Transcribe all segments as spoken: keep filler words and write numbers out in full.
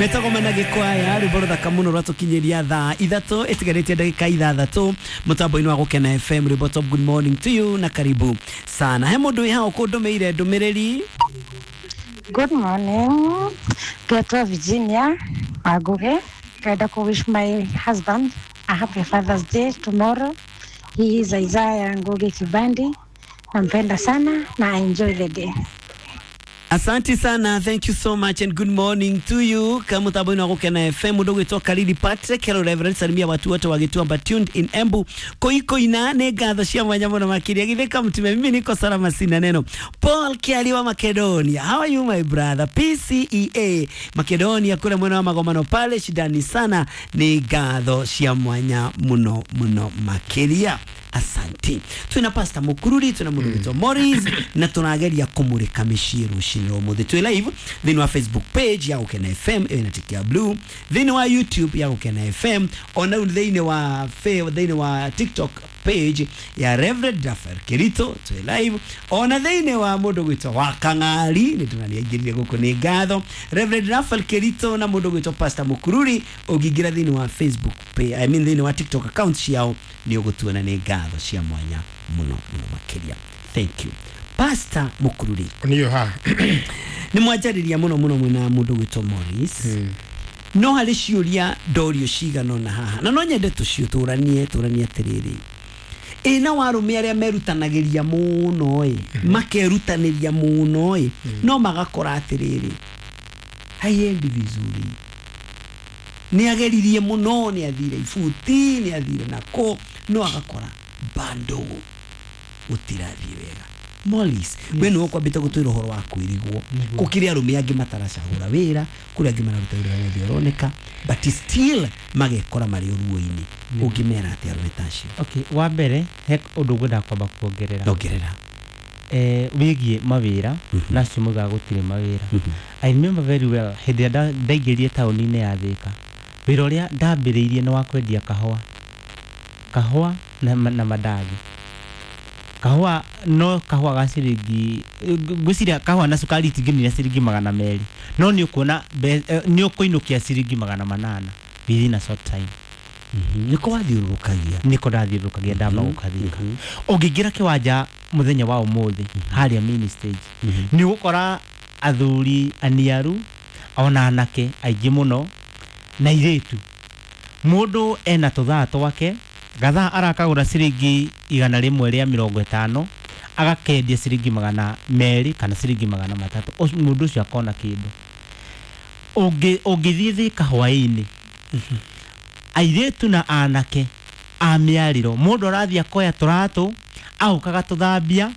Metagwo Manage Choir, rwĩmbo rũthaka mũno rwatũkinyĩria thaa ithatũ ĩtigarĩtie ndagĩka ithathatũ mũtambo-inĩ wa Gũkena F M. Rwĩmbo top. Good morning to you na karibu sana. He mũndũ wĩ hau kũndũmĩire ndũmĩrĩri. Good morning. Getwa Virginia Maguge. Kaida ku wish my husband a happy Father's Day tomorrow. He is Isaiah Ngugi Kibandi. Nampenda sana na enjoy the day. Asante sana, thank you so much and good morning to you. Kama mutambo wa Gũkena F M, mũndũ gwĩtwo Kariri Patrick, hello Reverend, salimia watu wote wa Gĩtuamba tuned in Embu. Koikoina nĩ ngatho cia mwanya mũno makĩria. Githĩka mtume, mimi niko salama sina neno. Paul Kiali wa Macedonia, how are you my brother? P C E A Macedonia kule mwena wa Magomano pale, shidani sana, nĩ ngatho cia mwanya mũno mũno makĩria. Asante. Twina Pastor Mukururi, twina mundu witwo Morris na tunageria kumurika mĩciĩ rũcinĩ rwa ũmũthĩ. Twĩ live thĩinĩ wa Facebook page ya Gũkena F M ĩna tiki ya blue, thĩinĩ wa YouTube ya Gũkena F M, ona rĩu thĩinĩ wa thĩinĩ wa TikTok page ya Reverend Raphael Kirito twĩ live, ona thĩinĩ wa mũndũ gwĩtwo wa Kang'ari nĩ tũraniaingĩrire gũkũ nĩ ngatho Reverend Raphael Kirito na mũndũ gwĩtwo Pastor Mukururi. Ũngĩingĩra thĩinĩ wa Facebook page, I mean thĩinĩ wa TikTok account ciao nĩ ũgũtuona nĩ ngatho cia mwanya mũno mũno makĩria. Thank you Pastor Mukururi. Niyo ha nĩ mwanjarĩria mũno mũno mwĩna mũndũ gwĩtwo Morris. Mm. No harĩ ciũria ndorio cigana ona haha na no nyende tũciũtũranie tũranie atĩrĩrĩ, ĩna warũme arĩa merutanagĩria mũno ĩ, makerutanĩria mũno ĩ, no magakora atĩrĩrĩ haiendi vizuri, nĩ ageririe mũno, nĩ athire ibuti, nĩ athire nako, no agakora bado gũtirathiĩ wega. Morris, we nĩwe ũkwambĩte gũtwĩra ũhoro wa kwĩrigwo, gũkĩrĩ arũme angĩ mataracagũra wĩra, kũrĩ angĩ mararuta wĩra wothe ũroneka, but still magekora marĩ ũruo-inĩ. Ũngĩmera atĩa arũme ta acio? Okay, wa mbere he ũndũ ngwenda kwamba kuongerera. Ongerera. Eh, wĩgiĩ mawĩra na acio moigaga gũtirĩ mawĩra. I remember very well hĩndĩ ĩrĩa ndaingĩrire taũni-inĩ ya Thĩka, wĩra ũrĩa ndambĩrĩirie nĩ wa kwendia kahũa, kahũa na, na mandathi. Kahũa no kahũa ga ciringi, ngwĩciria kahũa na cukari itingĩnina ciringi magana merĩ, no nĩ ũkuona nĩ ũkũinũkia ciringi magana manana within a short time. Nĩko wathiũrũrũkagia? Nĩko ndathiũrũrũkagia ndamba gũka Thĩka. Ũngĩingĩra kĩwanja mũthenya wa ũmũthĩ harĩa main stage, nĩ ũgũkora athuri aniaru ona anake aingĩ mũno na airĩtu. Mũndũ ena tũthaa twake, gathaa arakagũra ciringi igana rĩmwe rĩa mĩrongo ĩtano, agakendia ciringi magana merĩ kana ciringi magana matatũ, mũndũ ũcio akona kĩndũ. Ũngĩthiĩ Thĩka hwaĩ-inĩ, airĩtu na anake a mĩarĩro, mũndũ arathiĩ akoya tũratũ agoka gatũthambia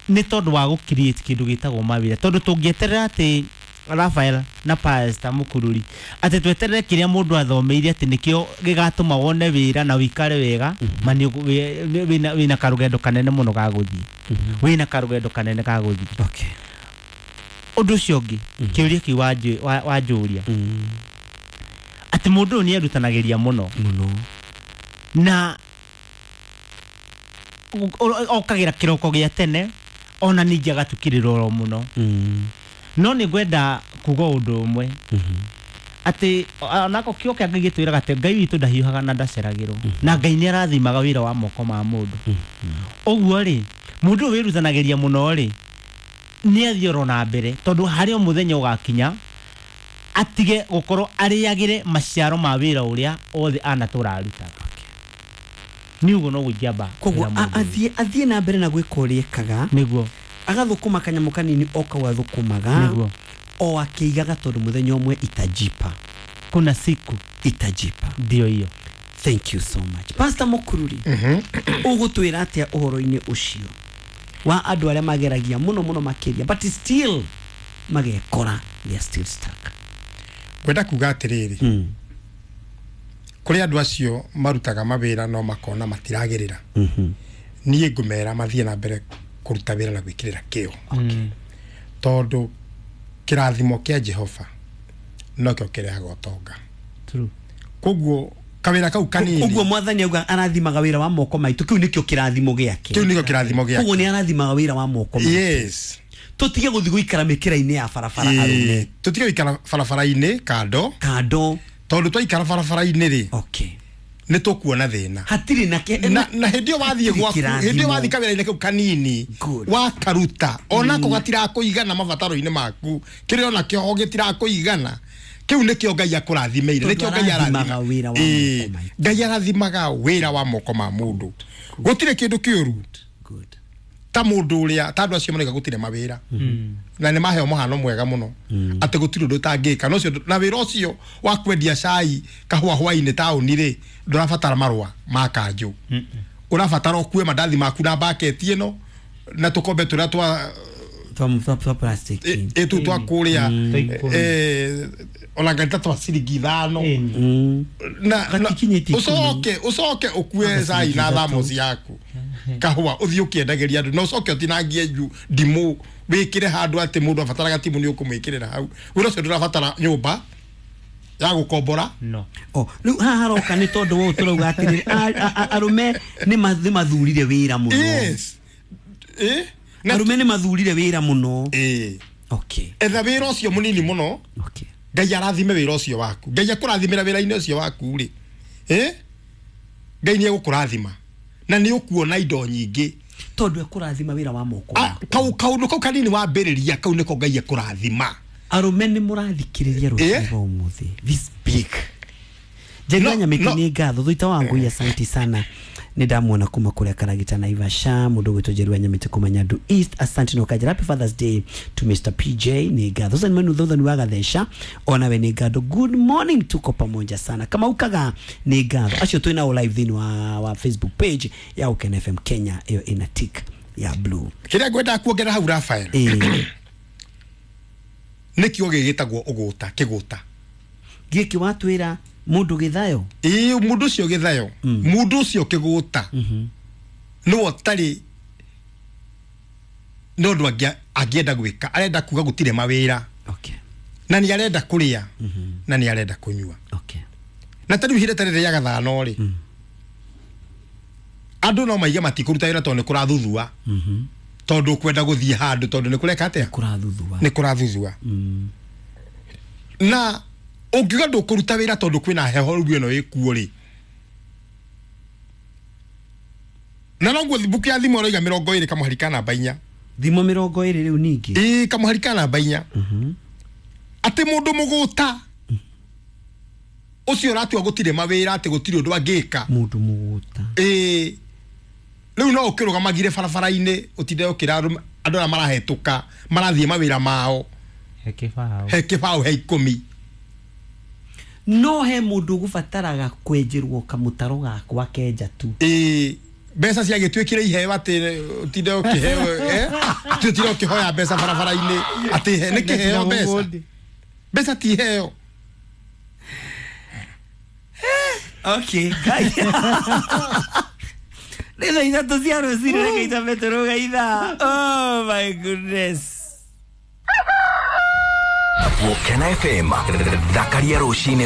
nĩ tondũ wa gũ create kĩndũ gĩtagwo mawĩra. Tondũ tũngĩeterera atĩ Raphael na Pastor Mukururi atĩ tweterere kĩrĩa mũndũ athomeire atĩ nĩkĩo gĩgatũma wone wĩra na ũikare wega, ma wĩna wĩna karũgendo kanene mũno ga gũthiĩ, wĩna karũgendo kanene ga gũthiĩ. Okay. Ũndũ ũcio ũngĩ, kĩũria kĩu wanjũria atĩ mũndũ ũyũ nĩ erutanagĩria mũno mũno na okagĩra kĩroko gĩa tene, ona ningĩ agatukĩrĩra oro mũno. No nĩ ngwenda kuga ũndũ ũmwe atĩ onako kĩo kĩa Ngai gĩtwĩraga atĩ Ngai witũ ndahiũhaga na ndaceragĩrwo, na Ngai nĩ arathimaga wĩra wa moko ma mũndũ. Ũguo rĩ, mũndũ ũyũ wĩrutanagĩria mũno rĩ, nĩ athiĩ oro na mbere, tondũ harĩ o mũthenya ũgakinya atige gũkorwo arĩagĩre maciaro ma wĩra ũrĩa othe anatũra arutaga. Nĩ ũguo noguo ingĩamba. Koguo athiĩ athiĩ na mbere na gwĩka ũrĩa ekaga, nĩguo agathũkũma kanyamũ kanini o kau athũkũmaga, nĩguo o akĩigaga, tondũ mũthenya ũmwe itajipa, kuna siku itajipa. Ndio hiyo. Thank you so much Pastor Mukururi. Ũgũtwĩra atĩa ũhoro-inĩ ũcio wa andũ arĩa mageragia mũno mũno makĩria, but still magekora they are still stuck? Ngwenda kuga atĩrĩrĩ, kũrĩ andũ acio marutaga mawĩra no makona matiragĩrĩra, niĩ ngũmera mathiĩ na mbere kũruta wĩra na gwĩkĩrĩra kĩo, tondũ kĩrathimo kĩa Jehova nokĩo kĩrehaga ũtonga. True. Koguo kawĩra kau kanini, ũguo mwathani auga arathimaga wĩra wa moko maitũ, kĩu nĩkĩo kĩrathimo gĩake. Kĩu nĩkĩo kĩrathimo gĩake. Koguo nĩ arathimaga wĩra wa moko maitũ. Yes. Tũtige gũthiĩ gũikara mĩkĩra-inĩ ya barabara arũme. Tũtige gũikara barabara-inĩ kando. Kando. Tondũ twaikara barabara-inĩ rĩ. Okay. Nĩ tũkuona thĩna. Hatirĩ na ke na na hĩndĩ ĩyo wathiĩ gwaku, hĩndĩ ĩyo wathiĩ kawĩra-inĩ kau kanini wakaruta onako gatirakũigana mabataro-inĩ maku, kĩrĩa onakĩo gĩtirakũigana, kĩu nĩkĩo Ngai akũrathimeire, nĩkĩo Ngai arathimaga wĩra wa moko maitũ. Ngai arathimaga wĩra wa moko ma mũndũ. Gũtirĩ kĩndũ kĩũru ta mũndũ ũrĩa ta andũ acio marauga gũtirĩ mawĩra, na nĩ maheo mũhano mwega mũno atĩ gũtirĩ ũndũ ũtangĩka. Na ũcio na wĩra ũcio wa kwendia cai kahũa hwainĩ taũni rĩ, ndũrabatara marũa ma kanjũ, ũrabatara ũkue mandathi maku na mbaketi ĩno na tũkombe tũrĩa twa twa plastic ĩtu twa kũrĩa ona ngari ta twa ciringi ithano na ũcoke ũcoke ũkue cai na thamosi yaku kahũa ũthiĩ ũkĩendagĩria andũ, na ũcoke ũtinangie ndimũ wĩkĩre handũ atĩ mũndũ abataraga timũ nĩ ũkũmwĩkĩrĩra hau. Wĩra ũcio ndũrabatara nyũmba ya gũkombora. No. Oh, rĩu haha haroka nĩ tondũ wa tũrauga atĩrĩrĩ, arũme nĩ mathurire wĩra mũno. Yes. Eh? Arũme nĩ mathurire wĩra mũno. Eh. Okay. Etha wĩra ũcio mũnini mũno. Okay. Ngai arathime wĩra ũcio waku. Ngai akũrathimĩra wĩra-inĩ ũcio waku rĩ. Eh? Ngai nĩ egũkũrathima. Na nĩ ũkuona indo nyingĩ. Tondũ ekũrathima wĩra wa moko. Kau kaũndũ kau kanini wambĩrĩria kau nĩko Ngai ekũrathima. Arũme nĩ mũrathikĩrĩria rũciũ rwa ũmũthĩ. This big. Njeri wa Nyamĩtĩ nĩ ngatho thuita wa ngui, asante sana. Nĩ ndamuona kuma kũrĩa Karagita Naivasha, mũndũ gwĩtwo Njeri wa Nyamĩtĩ kuma Nyandu East, asante. No kajira happy Father's Day to Mister P J nĩ ngatho. Sasa ni thutha ni wa Gathesha, ona we nĩ ngatho. Good morning, tuko pamoja sana. Kama ukaga nĩ ngatho. Acio twĩ nao live thĩinĩ wa, wa Facebook page ya Ukena F M Kenya, ĩyo ĩna tick ya blue. Kĩrĩa ngwenda kuongerera hau Raphael. Eh. Nĩ kiugo gĩgĩtagwo ũgũta, kĩgũta. Gĩkĩ watwĩra mũndũ gĩthayo? Ĩĩ, mũndũ ũcio gĩthayo, mũndũ ũcio kĩgũta nĩwe ũtarĩ nĩ ũndũ angĩenda gwĩka, arenda kuga gũtirĩ mawĩra. Okay. Na nĩ arenda kũrĩa, na nĩ arenda kũnyua. Okay. Na ta rĩu ihinda ta rĩrĩ rĩa gathano rĩ, andũ no maige matikũruta wĩra tondũ nĩ kũrathuthua. Tondũ ũkwenda gũthiĩ handũ tondũ nĩ kũreka atĩa? Kũrathuthua. Nĩ kũrathuthua. Na ũngiuga ndũkũruta wĩra tondũ kwĩna heho rĩu ĩno ĩkuo rĩ, na noguo mbuku ya thimo ĩroiga mĩrongo ĩrĩ kamũhari ka namba inya. Thimo mĩrongo ĩrĩ rĩu ningĩ? Ĩĩ, kamũhari ka namba inya. Atĩ mũndũ mũgũta ũcio ũratua gũtirĩ mawĩra, atĩ gũtirĩ ũndũ angĩka. Mũndũ mũgũta. Ĩĩ. Rĩu no ũkĩrũgamagire barabara-inĩ ũtinde ũkĩra andũ arĩa marahetũka marathiĩ mawĩra mao. He kĩbaũ. He kĩbaũ, he ikũmi. No he mũndũ ũgũbataraga kwenjerwo kamũtaro gakwa kenja tu. Ĩĩ, mbeca ciagĩtuĩkire iheo atĩ ũtinde ũkĩheo, eh? Ũtinde ũkĩhoya mbeca barabara-inĩ atĩ he nĩ kĩheo mbeca. Mbeca ti iheo. Okay, guys. Nĩ thaa ithatũ cia rũcinĩ, reke itambe tũrũge ithaa. Oh my goodness. Ukena F M, thakaria rũcinĩ.